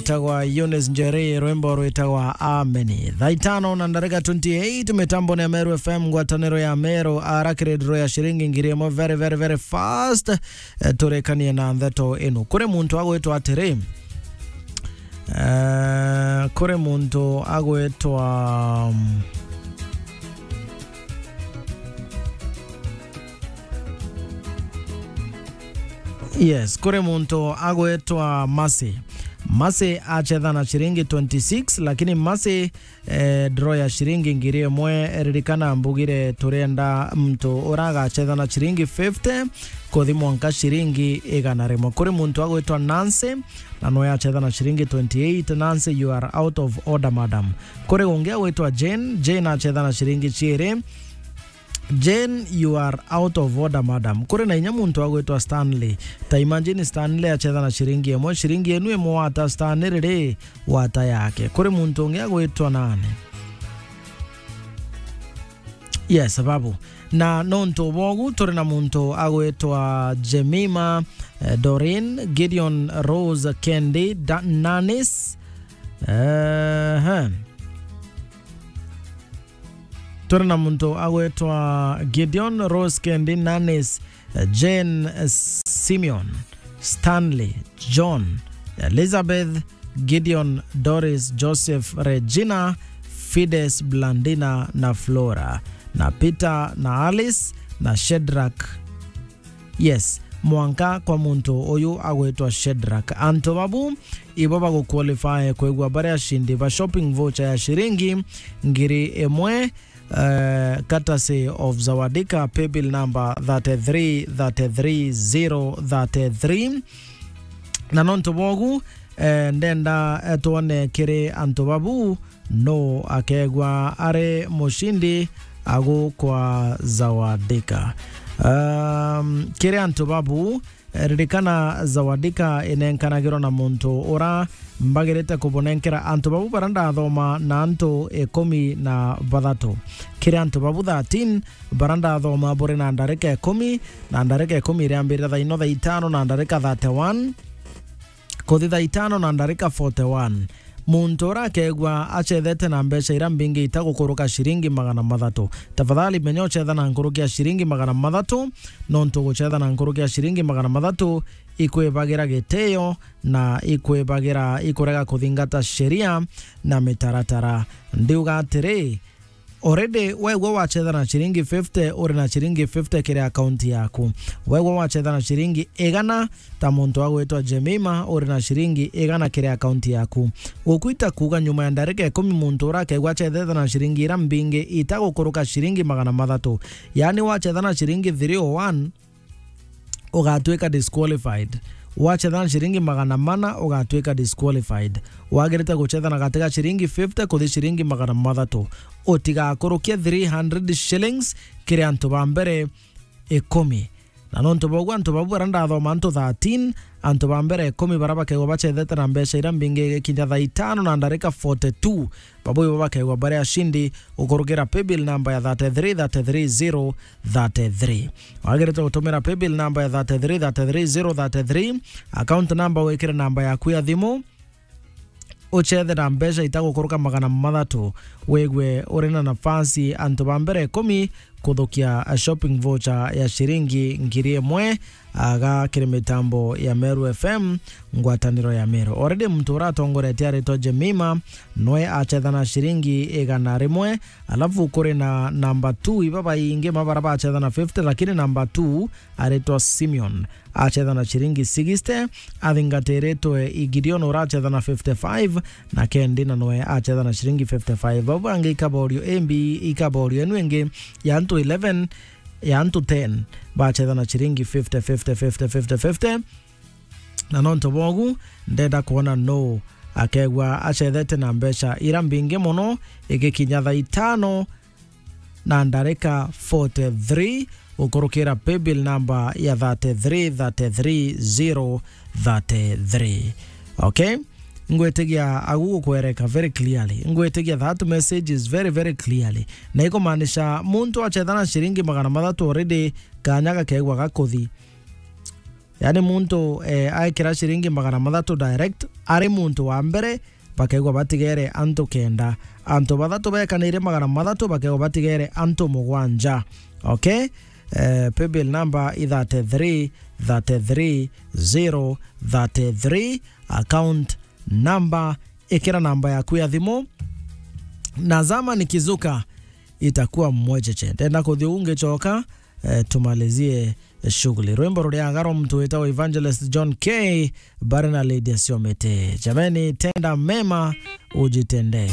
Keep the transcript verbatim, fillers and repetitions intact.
witagwa Eunice Njeri, rwimbo rwitagwa Ameni. Thaa itano na ndarika twenty-eight, mitambo ni ya Meru F M, ngwataniro ya Meru, arakire ndiro ya ciringi ngiri imwe, very, very, very fast. Eh, turekanie na ndeto ino. Kuri muntu agwitwa atiri, eh, kuri muntu agwitwa, mm, Yes, kuri muntu agwitwa Mercy. Mercy achetha na ciringi twenty-six, lakini Mercy, eh, draw ya ciringi ngiri imwe, ririkana mbugire turenda muntu uragachetha na ciringi fifty kuthi mwanka ciringi igana rimwe. Kuri muntu agwitwa Nancy, na noe achetha na ciringi twenty-eight. Nancy, you are out of order, madam. Kuri ungi agwitwa Jane, Jane achetha na ciringi ciiri. Jane, you are out of order, madam. Kuri na inya muntu agwitwa Stanley. Ta imagine Stanley achetha na ciringi imwe. Ciringi enu imwe wata Stanley riri, wata yake. Kuri muntu ungi agwitwa nani? Yes, babu. Na nontu bogu, turi na muntu agwitwa Jemima, eh, Doreen, Gideon, Rose, Kendi, Da-, Nanis. Ehe. Turi na muntu agwitwa Gideon, Rose, Kendi, Nanis, Jane, Simeon, Stanley, John, Elizabeth, Gideon, Doris, Joseph, Regina, Fides, Blandina na Flora, na Peter na Alice na Shedrak. Yes, mwanka kwa muntu uyu agwitwa Shedrak. Antu babu ibo baguqualify kwigua bari ashindi ba shopping voucher ya ciringi ngiri imwe, eh, courtesy of Zawadika, paybill number thirty-three thirty-three zero thirty-three. Na nontu bogu, eh, ndenda, eh, twone kiri antu babu no akegwa ari mushindi agu kwa Zawadika. Um, kiri antu babu, eh, ririkana Zawadika inenkanagirwa na muntu ura mbagirite kubunenkera. Antu babu bara ndathoma na antu ikumi na bathatu. Kiri antu babu thirteen bara ndathoma buri na ndarika ikumi, na ndarika ikumi iriambirira thaa ino thaa itano na ndarika thirty-one. Kuthi thaa itano na ndarika forty-one, muntu urakegua achethete na mbeca ira mbingi itagukuruka ciringi magana mathatu, tafadhali menya uchetha na nkuruki ya ciringi magana mathatu, nontu guchetha na nkuruki ya ciringi magana mathatu ikwibagira gitio na ikwibagira ikurega kuthingata sheria na mitaratara. Ndiuga atiri, already, wegwa wachetha na ciringi fifty, uri na ciringi fifty kiri account yaku. Wegwa wachetha na ciringi igana, ta muntu agwitwa Jemima, uri na ciringi igana kiri account yaku. Gukwita kuuga nyuma ya ndarika ikumi muntu urakegwa achethete na ciringi ira mbingi itagukuruka ciringi magana mathatu. Yaani wachetha na ciringi three oh one, ugatwika disqualified. Wachetha na ciringi magana mana, ugatwika disqualified. Wagirite guchetha na gati ga ciringi fifty kuthi ciringi magana mathatu. Utigakurukie three hundred shillings kiri antu ba mbere ikumi. Na nontu bogu antu babu bara ndathoma antu thirteen, antu ba mbere ikumi bara bakegwa bachethete na mbeca ira mbingi igikinya thaa itano na ndarika forty-two, babu ibo bakegwa bari ashindi gukurukira paybill number ya thirty-three thirty-three zero thirty-three. Wagirite gutumira paybill number ya thirty-three thirty-three zero thirty-three, account number wikire namba yaku ya thimu, uchethe na mbeca itagukuruka magana mathatu, wigwe uri na nafasi antu ba mbere ikumi kuthukia shopping voucher ya ciringi ngiri imwe aga kiri mitambo ya Meru F M, ngwataniro ya Meru. Already muntu uratongoretie aritwa Jemima, nwe achetha na ciringi igana rimwe, alafu kuri na number two, iba baingi mabara bachethana fifty, lakini number two aritwa Simeon, achethana ciringi sixty, athingatiritwe i Gideon urachethana fifty-five, na Kendi na nwe achethana ciringi fifty-five. Bau bangi ikaborio A B, ikaborio enu ingi ya antu eleven, ya antu ten, bachethana ciringi fifty, fifty, fifty, fifty, fifty. Na nontu bogu, ndenda kwona no akegwa achethete na mbeca ira mbingi mono, igikinya thaa itano na ndarika forty-three, gukurukira paybill number ya thirty-three thirty-three zero thirty-three. Okay? Ngwitigia agu gukwereka very clearly. Ngwitigia that message is very, very clearly. Na ikumaanisha muntu achethana ciringi magana mathatu already, kanya gakegwa gakuthi. Yani muntu, eh, aikira ciringi magana mathatu direct, ari muntu wa mbere, bakaigwa batigere antu kenda. Antu bathatu bekanire magana mathatu, bakaigwa batigere antu mugwanja. Okay? Eh, paybill number i thirty-three, thirty-three, zero, thirty-three, account number, ikira namba yaku ya thimu. Na zama nikizuka, itakuwa mwecheche. Ndenda kuthi ungichoka, eh, tumalizie shughuli. Rwimbo ruria agaro mtu witagwo Evangelist John K, bari na Lydia Siomete. Jameni, tenda mema, ujitendee.